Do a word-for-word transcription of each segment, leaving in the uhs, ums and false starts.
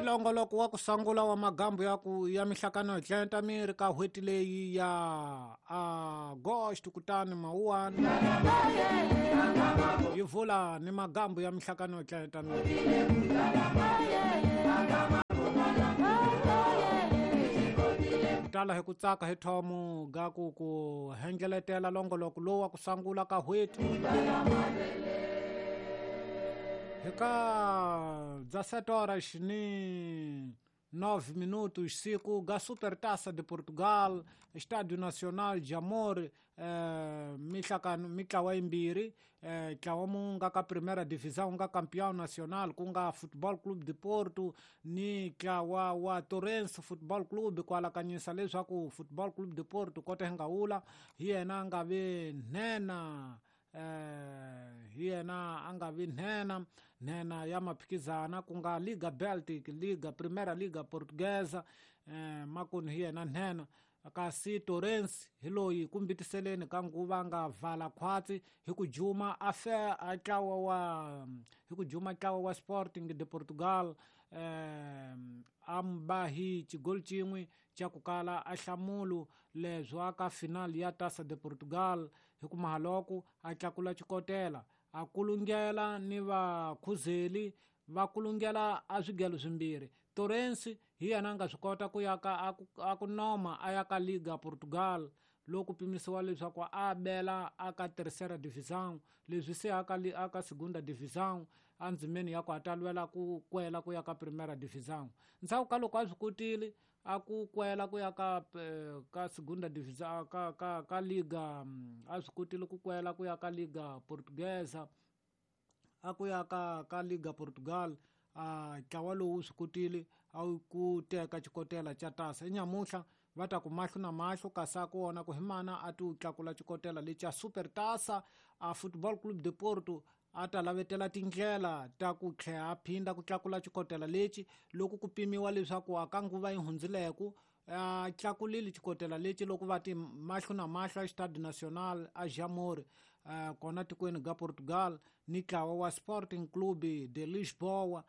Longoloko wa ku sungula wa magambu ya ku ya mihlakano hi tlenta miri ka n'hweti leyi ya August kutani mawuwani yi vula ni magambu ya mihlakano hi tlenta miri. Tala hi ku tsaka hi thomo ga ku ku hengeletela longoloko lowu wa ku sungula ka n'hweti. Hika dezessete horas ni nove minutos siku ga Supertaça de Portugal, Estádio Nacional de Amor, eh, mihlakano mitlawa yimbirhi, eh, ntlawa mu nga ka Primeira Divisão nga Campeão Nacional ku nga Futebol Clube de Porto ni ntlawa wa Torrense Futebol Clube ku alakanyisa leswaku Futebol Clube de Porto kota hi nga wula hi yena a nga vi nhenha. Eh, hi yena a nga vi nhenha nhenha ya maphikizana ku nga Liga Baltic, Liga Primeira Liga Portuguesa, eh, makuni hi yena nhenha. Kasi Torrense hi loyi kumbitiseleni ka nguva nga vala khwatsi hi ku juma a fe a ntlawa wa hi ku juma ntlawa wa Sporting de Portugal, eh, a mba hi xigoli xin'we xa ku kala a hlamulu leswo aka final ya Taça de Portugal hi ku mahaloko a tlakula xikotela a kulungela ni vakhuzeli va kulungela a swigelo swimbirhi. Torrense hi yena a nga swi kota ku ya ka a ku noma a ya ka Liga Portugal loko pimisiwa leswaku a bela a ka Terceira Divisão, leswi se a ka a ka Segunda Divisão endzimeni ya ku a ta lwela ku kwela ku ya ka Primeira Divisão. Ndzhaku ka loko a swi kotile a ku kwela ku ya ka ka Segunda Divisão ka ka ka Liga, a swi kotile ku kwela ku ya ka Liga Portuguesa a ku ya ka ka Liga Portugal, a ntlawa lowu swi kotile a ku teka xikotela xa tasa. Nyamuhla va ta ku mahlo na mahlo kasi a ku wona ku hi mana a ti u tlakula xikotela lexa Supertaça a Futebol Clube de Porto a ta lavetela tindlela ta ku tlhela a phinda ku tlakula xikotela lexi loko ku pimiwa leswaku a ka nguva yi hundzileku a tlakulile xikotela lexi loko va ti mahlo na mahlo a Estádio Nacional a Jamor kona tikweni ga Portugal ni ntlawa wa Sporting Clube de Lisboa,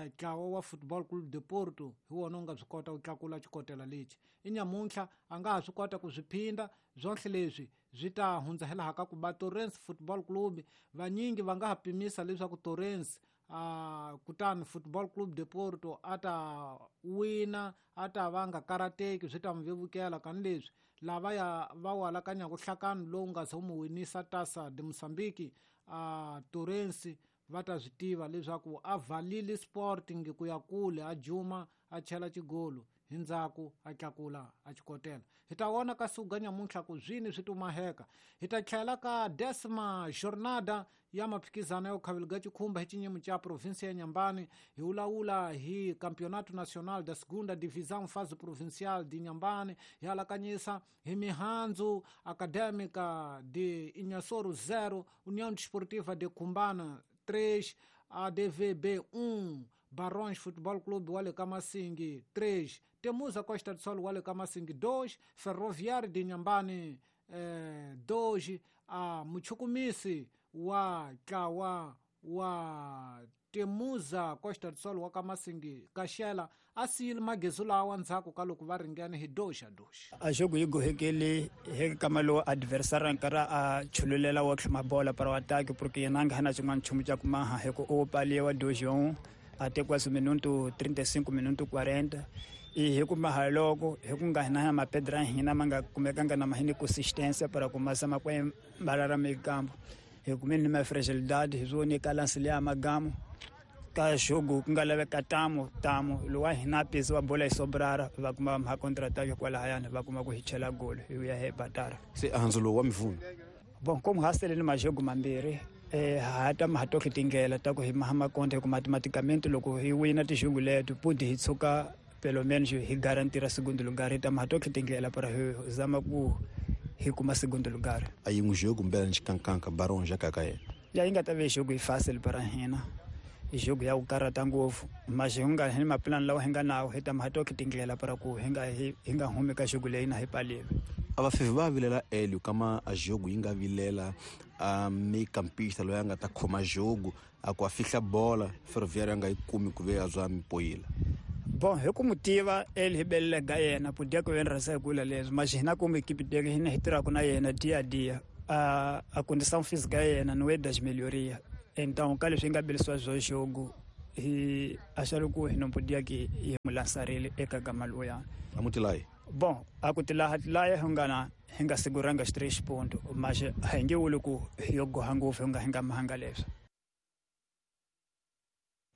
ntlawa wa Futebol Clube de Porto hi wona u nga swi kota ku tlakula xikotela lexi. I nyamuntlha a nga ha swi kota ku swi phinda swonhle leswi swi ta hundza hi laha ka ku ba Torrense Football Club. Vanyingi va nga ha pimisa leswaku Torrense a kutani Football Club de Porto a ta wina a ta va nga karateki swi ta n'wi vevukela kani leswi lava ya va wu alakanyaka nhlakano lowu nga se wu mu winisa Taça de Moçambique a Torrense va ta swi tiva leswaku a valile Sporting ku ya kule a juma a chela xigolo hi ndzhaku a tlakula a xikotela. Hi ta vona ka suga nyamuntlha ku zwini swi tumaheka. Hi ta tlhela ka décima jornada ya maphikizano ya khaveliga xikhumba hi xinyimo xa provinsia ya Inhambane. Hi vulavula hi Campeonato Nacional da Segunda Divisão Fase Provincial de Inhambane. Hi alakanyisa hi mihandzu Acadêmica de Inhassoro zero, União Desportiva de Cumbana três, A D V B um, Barões Futebol Clube wa le ka Masingi três, Temuza Costa do Sol wa le ka Masingi dois, Ferroviário de Inhambane eh, dois, a Muchukumisi wa ntlawa wa Temuza Costa do Sol wa ka Masingi Kaxela a siyile magezu lawa ndzhaku ka loko va ringene hi dois a dois. A jogo yi gohekele hi kama lowu adversário nkarhi a chululela wa tlhuma bola para o ataque porque yena a nga na xin'wana nchumu xa ku maha hi ku u paliwa dois a um até quase minuto trinta e cinco minuto quarenta e hi ku maha loko hi ku nga hina mapedra hina ma nga kumekanga na mahini consistência para começar ma kwe mbarara meio campo hi kumeni ma fragilidade hi zwone ka lance liya magamo ka jogo ku nga laveka tamo tamo lowa hina pesi wa bola yi sobrara va kuma ma contra-ataque kwalahayani va kuma ku hi chela golo hi ya hi batara. Se handzu lowu wa mivuna bon como hasele ni majogo mambirhi eh ha ta ma toke tindlela ta ku hi maha makonde ku matematicamente loko hi wina tijogo leto pudi hi tshuka pelo menos hi garantira segundo lugar hi ta ma toke tindlela para hi zama ku hi kuma segundo lugar. A yin'we jogo mbela ni xikankanka Barões ya kaka yena ya yi nga ta ve jogo yi fácil para hina jogo ya ku karhata ngopfu mas hi nga hi mapulani lawa hi nga nawo hi ta ma toke tindlela para ku hi nga hi nga humi ka jogo leyi na hi paliwe. A vafivi va vilela Hélio kama a jogo yi nga vilela a meio-campista loyi a nga ta khoma jogo a ku a fihla bola Ferroviário a nga yi kumi ku ve a zwa mipoyila. Bom, hi ku mu tiva ele hi belela ga yena podia ku ven rasa kula leswi mas hina kuma equipe dele hina hi tirhaka na yena dia a dia a a condição física yena não é das melhorias. Então ka leswi nga belisiwa swo jogo hi acharam ku hi não podia que hi mu lançar ele eka gama loya. Amutilai. Bom, a ku tilaha tilaya hi nga na hi nga seguranga os três pontos, mas hi nge vuli ku hi yo goha ngopfu hi nga hi nga mahanga leswi.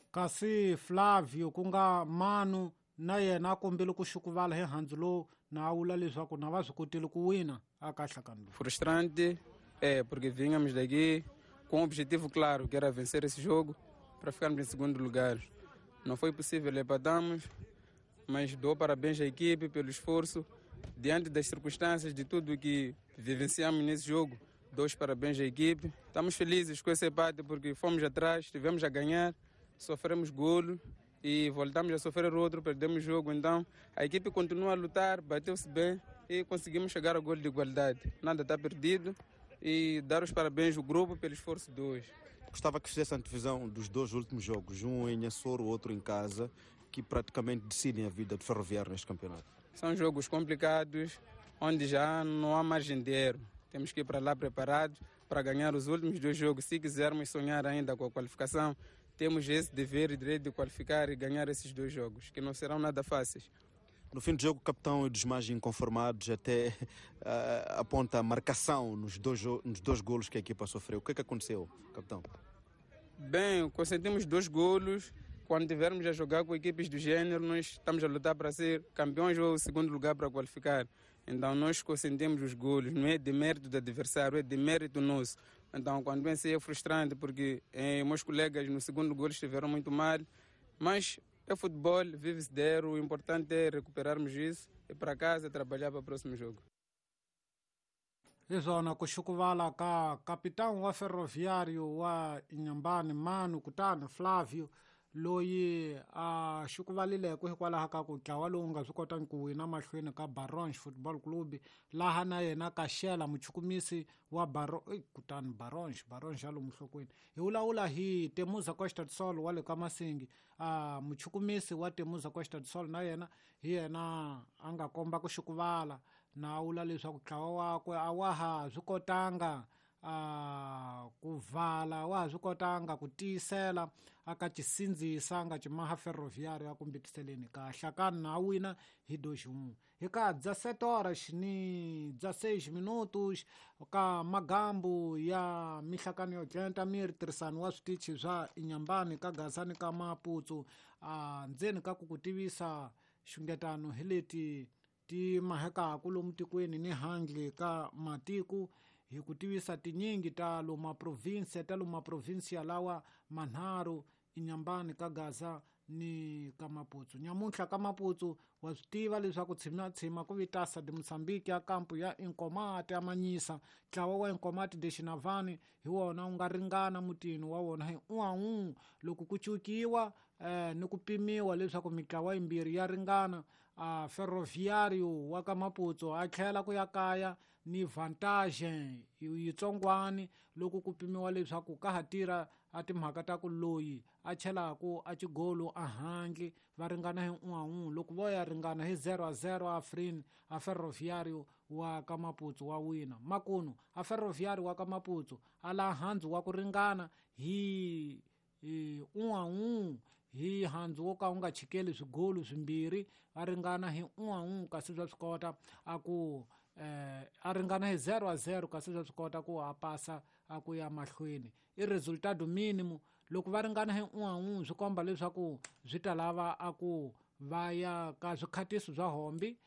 Kasi Flavio ku nga Manu na yena a kombile ku xukuvala hi handzu lowu na a vula leswaku na va swi kotile ku wina aka nhlakano lowu. Frustrante é porque vínhamos daqui com um objetivo claro, que era vencer esse jogo para ficarmos em segundo lugar. Não foi possível, empatamos, mas dou parabéns à equipe pelo esforço. Diante das circunstâncias de tudo que vivenciamos nesse jogo, dou os parabéns à equipe. Estamos felizes com esse empate porque fomos atrás, estivemos a ganhar, sofremos golo e voltamos a sofrer outro, perdemos o jogo. Então a equipe continua a lutar, bateu-se bem e conseguimos chegar ao golo de igualdade. Nada está perdido e dar os parabéns ao grupo pelo esforço de hoje. Gostava que fizesse a antevisão dos dois últimos jogos, um em Açor, o outro em casa, que praticamente decidem a vida do Ferroviário neste campeonato. São jogos complicados, onde já não há margem de erro. Temos que ir para lá preparados para ganhar os últimos dois jogos. Se quisermos sonhar ainda com a qualificação, temos esse dever e direito de qualificar e ganhar esses dois jogos, que não serão nada fáceis. No fim do jogo, o capitão e dos mais inconformados até uh, aponta a marcação nos dois, nos dois golos que a equipa sofreu. O que é que aconteceu, capitão? Bem, consentimos dois golos. Quando tivermos a jogar com equipes do gênero, nós estamos a lutar para ser campeões ou segundo lugar para qualificar. Então nós consentimos os golos, não é demérito do adversário, é demérito nosso. Então quando venci é frustrante porque eh, meus colegas no segundo golo estiveram muito mal, mas é futebol, vive-se de erro, o importante é recuperarmos isso e para casa trabalhar para o próximo jogo. Hiswona ku xukuvala ka capitão wa Ferroviário wa Inhambane Manu kutani Flavio loyi a xukuvalileko hikwalaho ka ku ntlawa lowu nga swi kotangi ku wina mahlweni ka Barons Football Club laha na yena Kaxela muchukumisi wa Baro kutani Barons Barons ya lomu nhlokweni hi vulavula hi Temuza Costa do Sol wa le ka Masingi. A muchukumisi wa Temuza Costa do Sol na yena hi yena a nga komba ku xukuvala na vula leswaku ntlawa wakwe a wa ha swi kotanga a ku vala wa ha swi kotanga ku tiyisela aka cisindzisa nga cimaha Ferroviário akumbitiseleni ka hlakani na wina hi dois um. Hi ka dezessete horas ni dezesseis minutos ka magambu ya mihlakani yo dlenta miri tirhisano wa switichi swa Inhambane ka Gaza ni ka Maputsu a ndzeni ka ku ku tivisa xungetano hi leti ti mahekaku lomu tikweni ni handle ka matiko hi ku tivisa tinyingi ta loma provinsia ta loma provinsia lawa manharhu Inhambane ka Gaza ni ka Maputsu. Nyamuntlha ka Maputsu wa swi tiva leswaku tshima tshima ku vitasa de Mozambique ya kampu ya Inkomati ya Manyisa. Ntlawa wa Inkomati de Xinavani hi wona wu nga ringana mutini wa wona hi un'we loko ku cukiwa eh, ni ku pimiwa leswaku mitlawa yimbirhi ya ringana. A Ferroviário wa ka Maputsu a tlhela ku ya kaya ni vantagem yitsongwani loko ku pimiwa leswaku ka ha tirha a timhaka ta ku loyi a chelaku a xigolo a handle va ringana hi un'we loko vo ya ringana hi zero a zero a Afrin a Ferroviário wa ka Maputsu wa wina. Makunu a Ferroviário wa ka Maputsu a la handzu wa ku ringana hi un'we hi handzu wo ka wu nga chikeli swigolo swimbirhi va ringana hi un'we kasi swa swi kota a ku eh, a ringana hi zero a zero kasi swa swi kota ku a pasa a ku ya mahlweni i resultado mínimo. Loko va ringana hi un'we swi komba leswaku swi ta lava a ku va ya ka swikhatiso swa hombi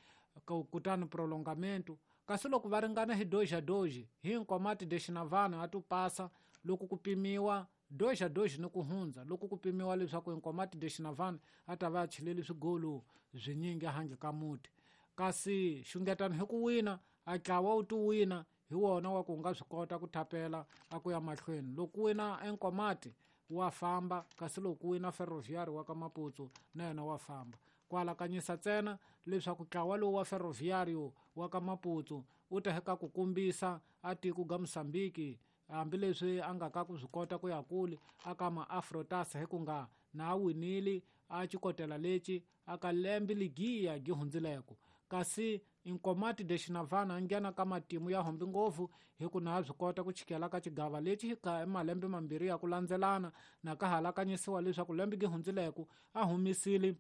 kutani prolongamento. Kasi loko va ringana hi dois a dois hi Nkomati de Xinavana a tu pasa loko ku pimiwa dois a dois ni ku hundza loko ku pimiwa leswaku Nkomati de Xinavana a ta va a chileli swigolo swinyingi handle ka muti. Kasi xungetano hi ku wina a ntlawa wu ti wina hi wona wa ku nga swi kota ku thapela a ku ya mahlweni. Loko wina Nkomati wa famba kasi loko wina Ferroviário wa ka Maputsu na yena wa famba. Ku alakanyisa ntsena leswaku ntlawa lowu wa Ferroviário wa ka Maputsu wu ta heka ku kombisa a tiko ga Mozambique hambileswi a nga ka ku swi kota ku ya kule aka ma-Afrotasa hi ku nga Na a winile a xikotela lexi aka lembe ligiya gi hundzileko. Kasi Inkomati de Xinavana a nghena ka matimu ya hombi ngopfu hi ku na swi kota ku chikela ka xigava lexi ka malembe mambirhi ya ku landzelana na ka halakanyisiwa leswaku lembe gi hundzileko a humisile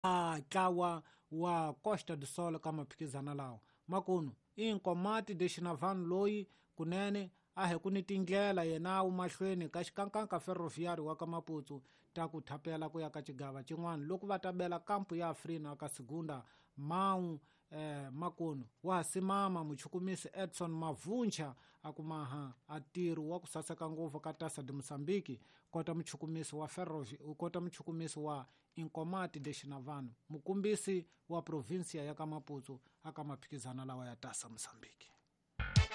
a ntlawa wa Costa do Sol ka maphikizana lawa. Makunu Inkomati de Xinavana loyi kunene a hi ku ni tindlela yena wu mahlweni ka xikankanka Ferroviário wa ka Maputo ta ku thapela ku ya ka xigava xin'wana loko va ta bela kampu ya Afrina ka Segunda Mau eh, makunu wa simama muchukumisi Edson Mavuncha akumaha a ntirho wa ku saseka ngopfu ka Taça de Moçambique kota muchukumisi wa Ferrovi kota muchukumisi wa Inkomati de Xinavana mukumbisi wa provinsia ya ka Maputo aka maphikizana lawa ya Taça Moçambique.